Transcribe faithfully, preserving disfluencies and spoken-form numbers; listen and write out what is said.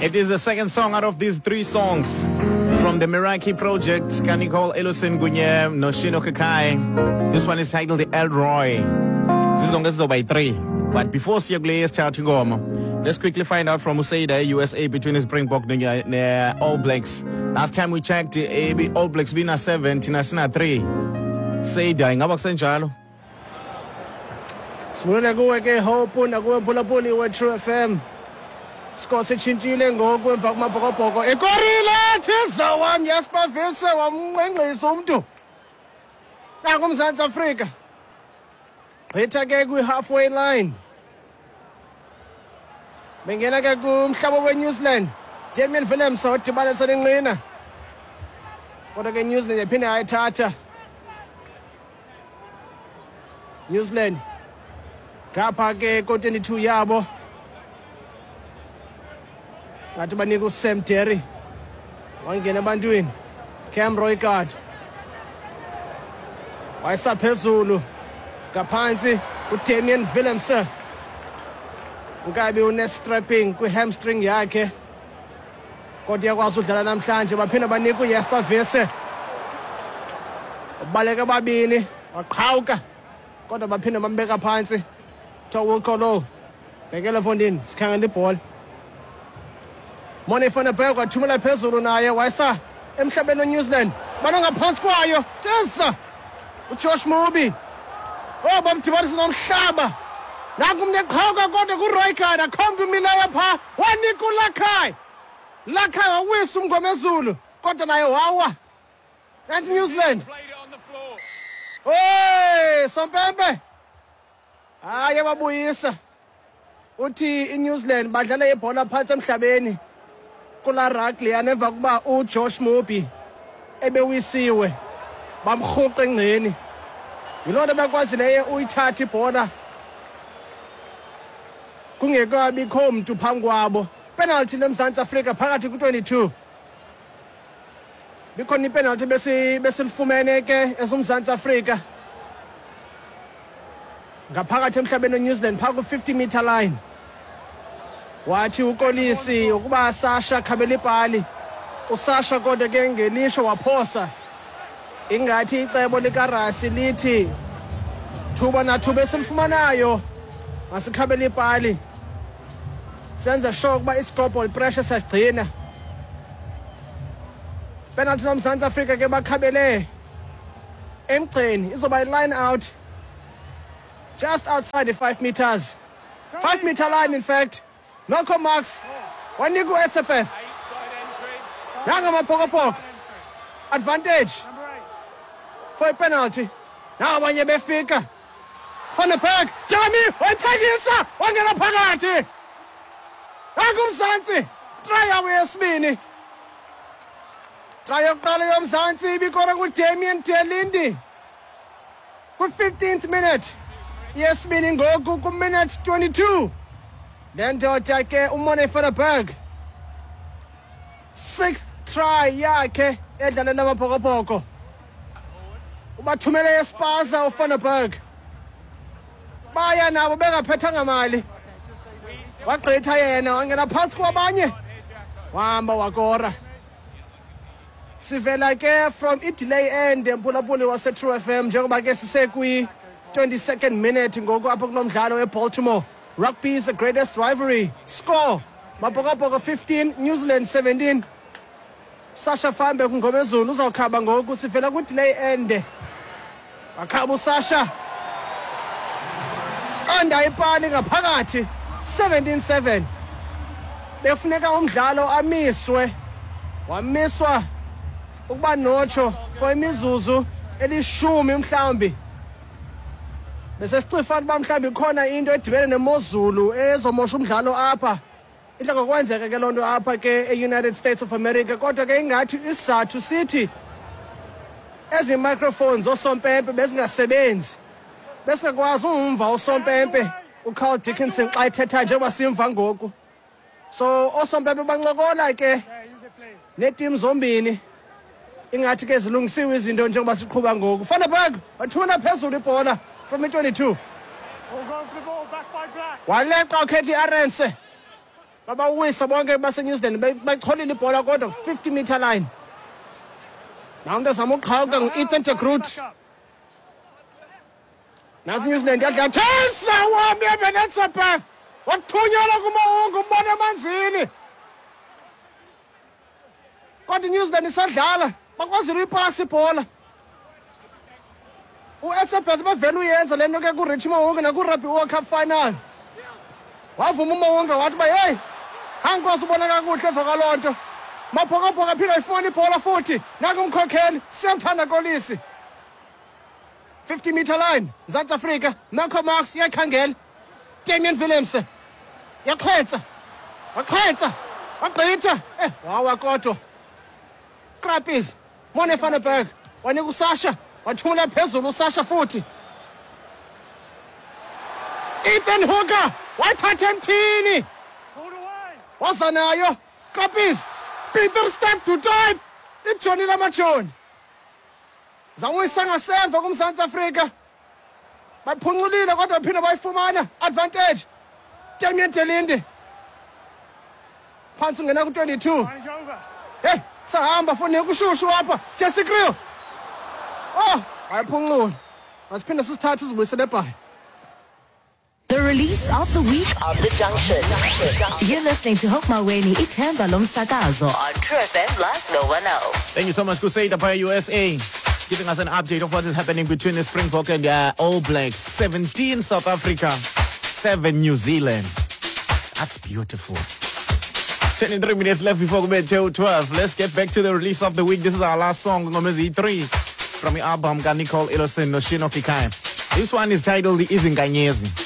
It is the second song out of these three songs from the Meraki Project, kaNicole Ellison kunye noShino Kakai. This one is titled Elroy. Zizonke zizoba yi-three. But before siye kule yesithathu ingoma, let's quickly find out from Usaida USA between the Springbok ne All Blacks. Last time we checked, eh, All Blacks bina seven, thina sina three. Saida, ingaba kusenjalo? Sibulele kuwe ke Hope nakuwe Mphulaphuli we-True FM. Score sitshintshile ngoku emva kumabhokobhoko. Ikorile thiza wam Jasper Wiese wamnqenqisa umntu. Nangu uMzantsi Afrika. Gqitha ke kwi-halfway line. Bengena ke kumhlaba we-New Zealand. Damian Willemse wadibanisa nenqina. Kodwa ke New Zealand yaphinda yayithatha. New Zealand ngapha ke ko-twenty-two yabo. Ngathi banika uSam Derry. Wangena ebantwini. Cam Roigard. Wayesaphezulu. Ngaphantsi uDamian Willemse. Ukabi une-strapping kwi-hamstring yakhe. Kodwa uyakwazi udlala namhlanje. Baphinda banika uJasper Wiese. Ubaleka babini, waqhawuka. Kodwa baphinda bambeka phantsi. Kuthiwa Wilco Louw. Bhekela fondini, sikhangela ibhola. Morne van der Berg wathumela phezulu naye wayesa emhlabeni weNew Zealand. Banangaphansi kwayo. Tesa. uJosh Moby. Oh, bamdibanisa nomhlaba. Nanku umntu eqhawuka kodwa kuRoigard akho mntu umileyo phaa. Wanika uLakai. Lakai wawisa umngomezulu kodwa naye wawa. That's New Zealand. Hey, Sompempe. Hayi babuyisa. Uthi iNew Zealand badlala ibhola phantsi emhlabeni. Kula rugby leyana emva kuba uJosh Moby ebewisiwe bamrhuqa engceni. Yiloo nto bekwazileyo uyithatha ibhola kungekabikho mntu phambi kwabo. Penalty leMzantsi Afrika phakathi ku-twenty-two. Bikhona ipenalty besi besilifumene ke esoMzantsi Afrika. Ngaphakathi emhlabeni weNew Zealand phaa ku-fifty meter line. Wathi uKolisi ukuba Sasha khabela ibhali. uSasha kodwa ke ngelisho waphosa. Ingathi icebo likaRasi lithi thuba nathuba esilifumanayo masikhabele ibhali. Senze sure ukuba i-scoreboard pressure sasigcina. Penalty loMzantsi Afrika ke bakhabele emgceni, izoba line out just outside the five meters. Five meter line in fact. Noko Marks wanika uEtzebeth. Nanga Mabhokobhoko. Advantage for a penalty. Now abanye befika. Van der Berg, Jamie wayithengisa wangena phakathi. Nangu uMzantsi. Try yabo yesibini. Try yokuqala yoMzantsi ibikora kuDamian de Allende. Ku-fifteenth minute. Yesibini ngoku ku-minute twenty-two. Le ndoda ke uMorne van der Berg. Sixth try yakhe edlalela amaBhokobhoko. Ubathumele espaza uVan der Berg. Baya nabo bengaphethanga mali. Wagqitha yena wangena phantsi kwabanye. Wahamba wakora. Sivela ke from i-delay end emphulaphuli wase-True F M njengoba ke sisekwi twenty-second minute ngoku apha kulo mdlalo eBaltimore. Rugby is the greatest rivalry. Score Mabhokobhoko fifteen, New Zealand seventeen. Sasha Fambe kungomezulu uzawukhaba ngoku sivela ku-delay end. Wakhaba uSasha. Qanda ipali ngaphakathi seventeen seven. Bekufuneka umdlalo amiswe. Wamiswa ukuba notsho for imizuzu elishumi mhlawumbi. Bese sicifana uba mhlawumbi ikhona into edibene nemozulu ezomosha umdlalo apha. Idla ngokwenzeka ke loo nto apha ke e-United States of America. Kodwa ke ingathi isizathu sithi ezi microphones oosompempe bezingasebenzi. Besingakwazi umva usompempe uCarl Dickinson xa ethetha njengoba simva ngoku. So oosompempe bancokola ke neetim zombini. Ingathi ke zilungisiwe izinto njengoba siqhuba ngoku. Van der Berg wathumela phezulu ibhola from i-twenty-two. Waleqa uKetly Arendse. Babawisa bonke base-New Zealand bayicholile ibhola kodwa fifty meter line. Namntu ezama uqhawuka ngu-Ethan de Groot. Nantsi New Zealand yadlala Chesa wami ebenetsebeth wathunyelwa kuMahungu umbona emanzini. Kodwa iNew Zealand isadlala bakwazile uyipasa ibhola. U-Etzebeth bavele uyenza le nto ke kuRichie Mo'unga nakuRugby World Cup final. Wavuma uMo'unga wathi uba heyi angikwazi ubona kakuhle emva kwaloo nto. Mabhokobhoko aphinda ayifumana ibhola futhi naku umkhokheli Siyamthanda Kolisi. fifty meter line Mzantsi Afrika Malcolm Marx iyakhangela. Damian Willemse yaxhentsa waxhentsa wagqitha eh wawa kodwa Krappies Morne van der Berg wanika uSasha wathumela phezulu uSasha futhi Ethan Hooker wayithatha emthini waza nayo Krappies Peter Steph du Toit ijoni lamajoni zawuyisa ngasemva kuMzantsi Afrika baphunculile kodwa baphinde bayifumana advantage Damian de Allende phantsi ungena ku-twenty-two. Hey sahamba foni kushushu apha Jesse Kriel oh ayiphuncula masiphinde sisithathe sizibuyisele eBhayi. The release of the week on The Junction. You're listening to Hope Maweni, Ithemba Lomsakazo on True F M like no one else. Thank you so much, Kuseda by U S A, giving us an update of what is happening between the Springbok and uh, All Blacks. seventeen South Africa, seven New Zealand. That's beautiful. twenty-three minutes left before we get twelve. Let's get back to the release of the week. This is our last song, Ngomezi three, from the album Nicole Ilosin Noshino Fikai. This one is titled Izinkanyezi.